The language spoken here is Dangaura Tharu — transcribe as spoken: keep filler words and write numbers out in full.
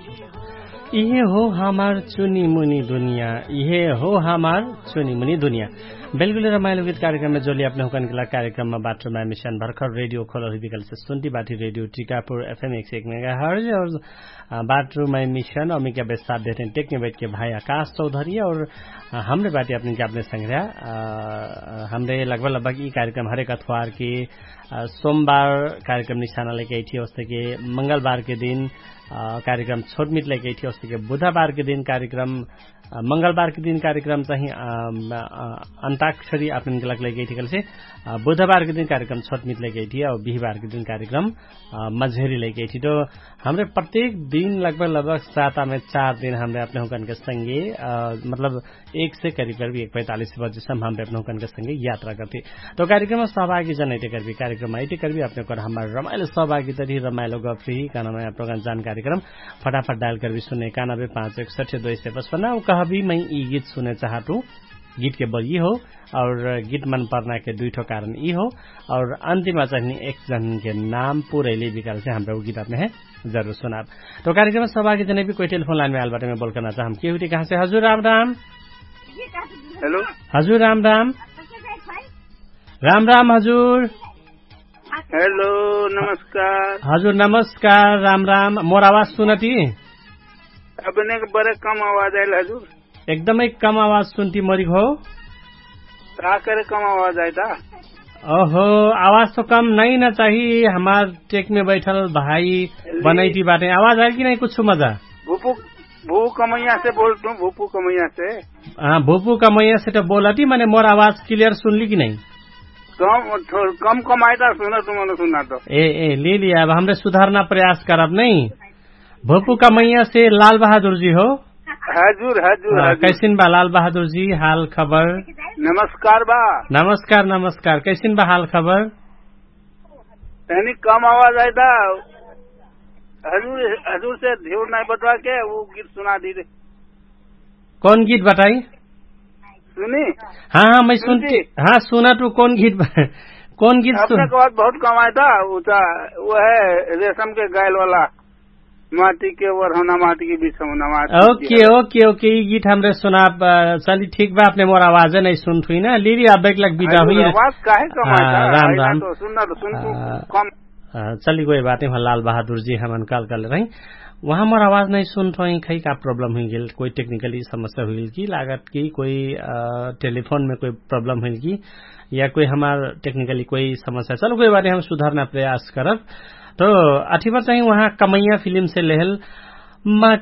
इहे हो हमार चुनिमुनि दुनिया। इहे हो हमार चुनिमुनि दुनिया। बेलगुले रमाइलो गीत कार्यक्रममे जोली अपने हुकन गेला कार्यक्रममा बाटो माइ मिशन भर्खर रेडियो खोलल हुइ बिकलसे सुन्ती बाटी रेडियो टिकापुर एफएम एक सय एक मेगा हर्ज और बाटो माइ मिशन अमिका बेसाथ देहते टेक्ने बैठके भाइ आकाश चौधरी और हमरे बाटी अपने के अपने संग्रह। हमरे लगभग लगभग यि कार्यक्रम हरेक अथवार के सोमबार कार्यक्रम निशाना लैके अइठी होस्ते के मंगलबार के दिन कार्यक्रम छोटमित लैके अइठी होस्ते के बुधबार के दिन कार्यक्रम मंगलबार के दिन कार्यक्रम चाहिँ अन्ताक्षरी आपन गलक लैके अइठी कलसे बुधबार के दिन कार्यक्रम छोटमित लैके अइठी और बिहिबार के दिन कार्यक्रम मझेरी लैके अइठी। तो हमरे प्रत्येक दिन लगभग लगभग सातामे चार दिन हमरे अपने हुकन के संगे मतलब एक से करिब करिब एक पैतालिस बजे सम्म हमरे अपने हुकन के संगे यात्रा करती। तो कार्यक्रम सहभागी जनैते करबी कार्यक्रम आइते करबी अपने कर हमार रमाइलो सहभागी तरी रमाइलो गफरी कानामे अपने हुकन जान कार्यक्रम फटाफट डायल करबी सुने कानाबे पाँच एक सठ्य दुई सय पचपन्न उ कहबी मै यि गीत सुने चाहटु। गीत के बल यि हो और गीत मन पर्ना के दुइ ठो कारण यि हो। और अन्तिम चाहनी एक जन के नाम पुरैले बिकाल से हमरा उ गीत अपने है जरुर सुनाब। तो कार्यक्रम सभा के जने भी कोइ टेलिफोन लाइन में आल बाटे में बोल करना चाहम के हुई कहाँ से हजुर राम राम। हेलो। हजुर राम राम। राम राम हजुर। हेलो। नमस्कार हजुर नमस्कार राम राम मोर आवाज सुनती। अपने के बड़े कम आवाज आयल हजुर। एकदमै कम आवाज सुनती मोरी हो। का करे कम आवाज आइता। ओहो आवाज तो कम नहीं ना चाहिए हमार टेक में बैठल भाई बनैती बाटे आवाज आइल कि नहीं कुछ मजा। भूपू भू कमैया से बोलतू भूपू कमैया से। हाँ भूपू कमैया से तो बोलती मैंने मोर आवाज क्लियर सुनली कि नहीं। कम कम कमाइता सुनतू मन सुना तो। ए ए ले लिया अब हमरे सुधारना प्रयास करब नहीं। भोपू का मैया से लाल बहादुर जी हो। हजुर हजुर। कैसिन बा लाल बहादुर जी हाल खबर। नमस्कार बा। नमस्कार नमस्कार कैसिन बा हाल खबर। तनी कम आवाज आइता। हजुर हजुर से धेउर नाइ बटवा के उ गीत सुना दी रे। कौन गीत बताई। सुनी। हाँ हाँ मैं सुनती। हाँ सुना तू कौन गीत कौन गीत सुन। बहुत कम आइता। उ है रेशम के गायल वाला। माटी के ओर होना माटी के बीच होना माटी। ओके ओके ओके यी गीत हमरे सुना। चली ठीक बा अपने मोर आवाज है नहीं सुन थुई ना लिली अब एक लग बिदा हुई। राम राम। चली कोई बात नहीं लाल बहादुर जी हमन काल कर ले रही। वहाँ मोर आवाज नहीं सुन थोई खै का प्रॉब्लम हुई गेल कोई टेक्निकली समस्या हुई गेल की लागत की कोई टेलीफोन में कोई प्रॉब्लम हुई गेल की या कोई हमार टेक्निकली कोई समस्या चलो कोई बात नहीं हम सुधारना प्रयास करब। तो अठीबर चाहिँ उहाँ कमैया फिलिम से लेहल मा